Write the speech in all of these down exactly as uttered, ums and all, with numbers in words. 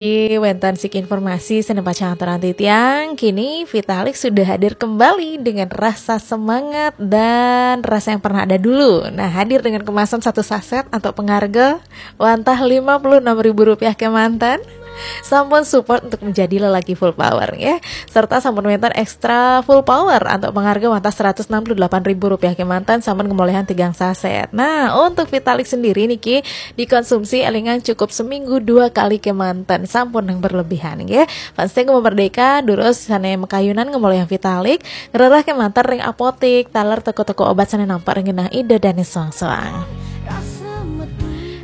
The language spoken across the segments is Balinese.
Wénten siki informasi sané pacang aturaken titiang, kini Vitalik sudah hadir kembali dengan rasa semangat dan rasa yang pernah ada dulu. Nah, hadir dengan kemasan satu saset atau pengharga wantah lima puluh enam ribu rupiah kémanten. Sampun support untuk menjadi lelaki full power, ya. Serta sampun wénten ekstra full power atau pengharga wantah seratus enam puluh delapan ribu rupiah kémanten sampun ngemoléhan tigang saset. Nah, untuk Vitalik sendiri niki dikonsumsi élingan cukup seminggu dua kali kémanten, sampun yang berlebihan, nggih. Fans Tengku Merdeka, durus sané makayunan ngemoléhan Vitalik, ngrereh kémanten ring apotik, taler toko-toko obat sané nampak ring genah Ida dané soang-soang.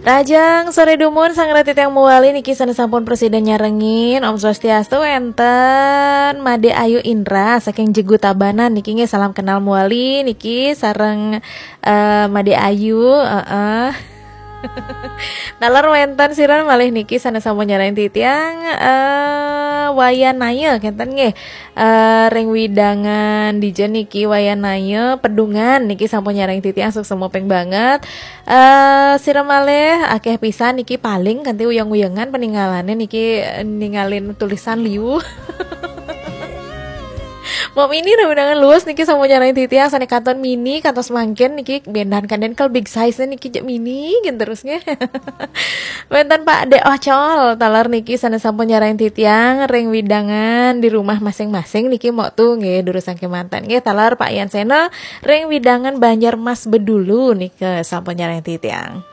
Rahajeng soré dumun, sareng titiang mawali niki sané sampun prasida nyarengin. Om Swastiastu, wénten Madé Ayu Indra saking Jegu Tabanan niki, nggih, salam kenal mawali niki sareng, eh, Madé Ayu, heeh. Taler wénten sira malih niki sané sampun nyarengin titiang, eh, Wayan Naya kénten, nggih. Eh, ring wewidangan dija niki Wayan Naya, Pedungan niki sampun nyarengin titiang, suksma ping banget. Eh, sira malih akéh pisan niki paling kanti uyang-uyangan peninggalane niki, eh, ningalin tulisan liu. Mbok Mini ring wewidangan Luwus niki sampun nyarengin titiang, sané kantos mini, kantos mangkin niki bendan kanden kal big size niki jek mini gin terus, nggih. Wénten Pak Dé Ocol, taler niki sané sampun nyarengin titiang ring wewidangan di rumah masing-masing niki, Mbok, tu, nggih, durusang kémanten, nggih. Taler Pak Yan Sena ring wewidangan Banjar Mas Bedulu niki sampun nyarengin titiang.